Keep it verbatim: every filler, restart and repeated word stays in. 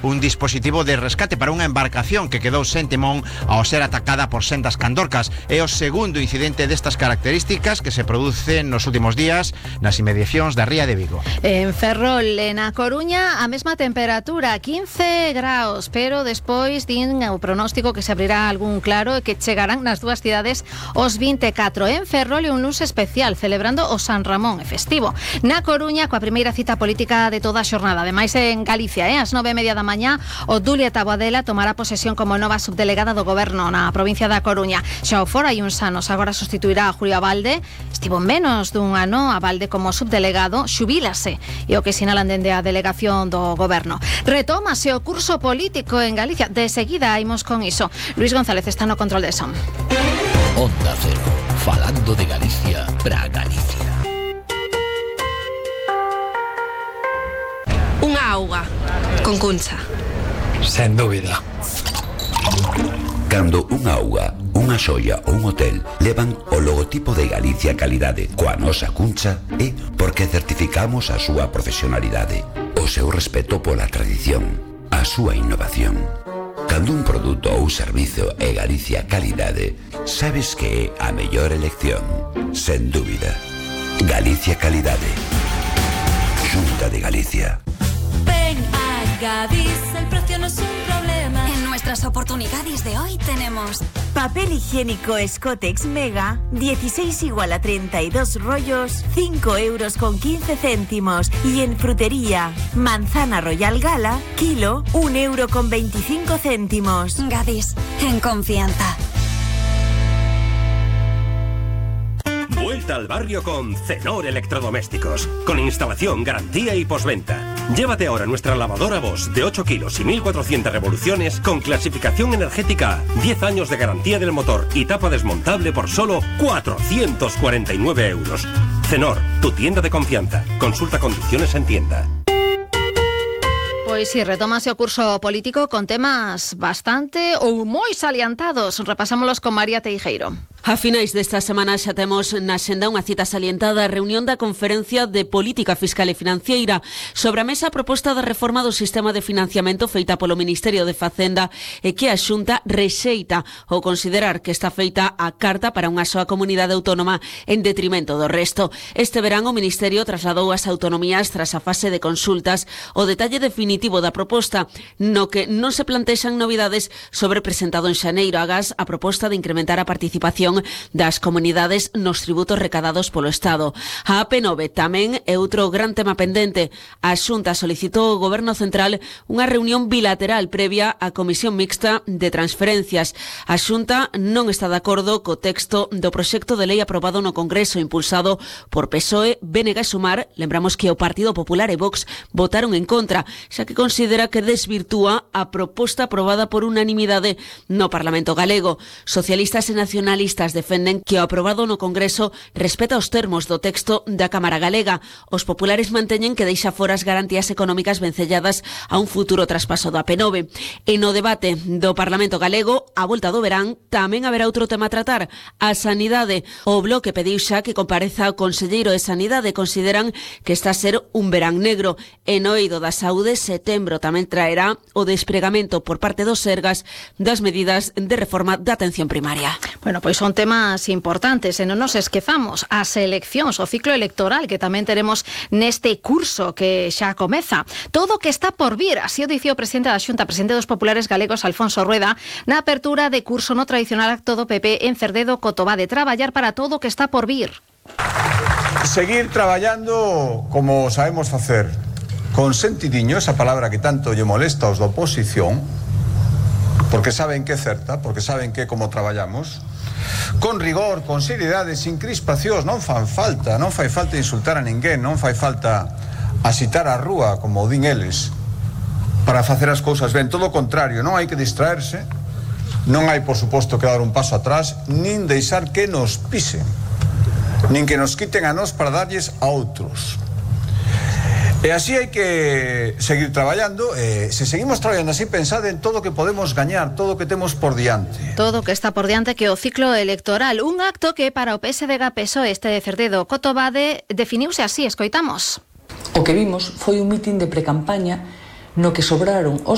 un dispositivo de rescate para unha embarcación que quedou sen timón ao ser atacada por sendas candorcas. É o segundo incidente destas características que se produce nos últimos días nas inmediacións da ría de Vigo. En Ferrol, na Coruña, a mesma temperatura, quince graus, pero despois din o pronóstico que se abrirá algún claro e que chegarán nas dúas cidades os vinte e catro. En Ferrol é un luns especial, celebrando o San Ramón e festivo. Na Coruña, coa primeira cita política de toda a xornada. Ademais, en Galicia, eh, ás nove e media da mañá, o Dulia Taboadela tomará posesión como nova subdelegada do Goberno na provincia da Coruña. Xa o fora hai uns anos, agora sustituirá a Julio Abalde. Estivo menos dun ano a Abalde como subdelegado, xubílase, e o que sinalan dende a delegación do Goberno. Retómase o curso político en Galicia. De seguida imos con iso. Luis González está no control de som. Onda Cero, falando de Galicia pra Galicia. Unha auga con Cuncha. Sen dúbida. Cando unha auga, unha xoia ou un hotel levan o logotipo de Galicia Calidade coa nosa Cuncha, é porque certificamos a súa profesionalidade, o seu respeto pola tradición, a súa innovación. Cando un produto ou servizo é Galicia Calidade, sabes que é a mellor elección, sen dúbida. Galicia Calidade. Xunta de Galicia. Ven a Gadis, el precio no es un problema. En nuestras oportunidades de hoy tenemos papel higiénico Scotex Mega, dieciséis igual a treinta y dos rollos, cinco euros con quince céntimos. Y en frutería, manzana Royal Gala, kilo, un euro con veinticinco céntimos. Gadis, en confianza. Vuelta al barrio con Cenor Electrodomésticos, con instalación, garantía y postventa. Llévate ahora nuestra lavadora Bosch de ocho kilos y mil cuatrocientas revoluciones con clasificación energética, diez años de garantía del motor y tapa desmontable por solo cuatrocientos cuarenta y nueve euros. Cenor, tu tienda de confianza. Consulta condiciones en tienda. Pois si, retómase o curso político con temas bastante ou moi salientados. Repasámolos con María Teijeiro. A finais desta semana xa temos na xenda unha cita salientada, a reunión da Conferencia de Política Fiscal e Financiera. Sobre a mesa a proposta de reforma do sistema de financiamento feita polo Ministerio de Facenda e que a Xunta rexeita ou considerar que está feita a carta para unha soa comunidade autónoma en detrimento do resto. Este verán o Ministerio trasladou ás autonomías tras a fase de consultas o detalle definitivo da proposta, no que non se plantexan novidades sobre presentado en xaneiro. Agás a proposta de incrementar a participación das comunidades nos tributos recadados polo Estado. A A P nove tamén é outro gran tema pendente. A Xunta solicitou ao Goberno Central unha reunión bilateral previa á Comisión Mixta de Transferencias. A Xunta non está de acordo co texto do proxecto de lei aprobado no Congreso, impulsado por P S O E, B N G e Sumar. Lembramos que o Partido Popular e Vox votaron en contra, xa que considera que desvirtúa a proposta aprobada por unanimidade no Parlamento galego. Socialistas e nacionalistas defenden que o aprobado no Congreso respeta os termos do texto da Cámara Galega. Os populares manteñen que deixa fora as garantías económicas vencelladas a un futuro traspaso do A P nove. E no debate do Parlamento galego, a volta do verán, tamén haberá outro tema a tratar, a sanidade. O Bloque pediu xa que compareza o conselleiro de Sanidade. Consideran que está a ser un verán negro. E no eido da saúde, setembro tamén traerá o despregamento por parte dos Sergas das medidas de reforma da atención primaria. Bueno, pois son temas importantes e non nos esquezamos as eleccións, o ciclo electoral que tamén teremos neste curso que xa comeza. Todo o que está por vir, así o dicía o presidente da Xunta, presidente dos populares galegos, Alfonso Rueda, na apertura de curso no tradicional acto do P P en Cerdedo, Cotobade. Traballar para todo o que está por vir. Seguir traballando como sabemos facer, con sentidiño, esa palabra que tanto lle molesta aos da oposición, porque saben que é certa, porque saben que é como traballamos, con rigor, con seriedade, sin crispacións. Non fan falta, non fai falta insultar a ninguén, non fai falta asitar a rúa, como din eles, para facer as cousas ben. Todo o contrario, non hai que distraerse, non hai, por suposto, que dar un paso atrás, nin deixar que nos pisen, nin que nos quiten a nós para darlles a outros. E así hai que seguir traballando. E se seguimos traballando así, pensad en todo o que podemos gañar, todo o que temos por diante. Todo o que está por diante, que o ciclo electoral. Un acto que para o P S D G P S O E este de Cerdedo Cotobade definiuse así, escoitamos. O que vimos foi un mitin de precampaña no que sobraron os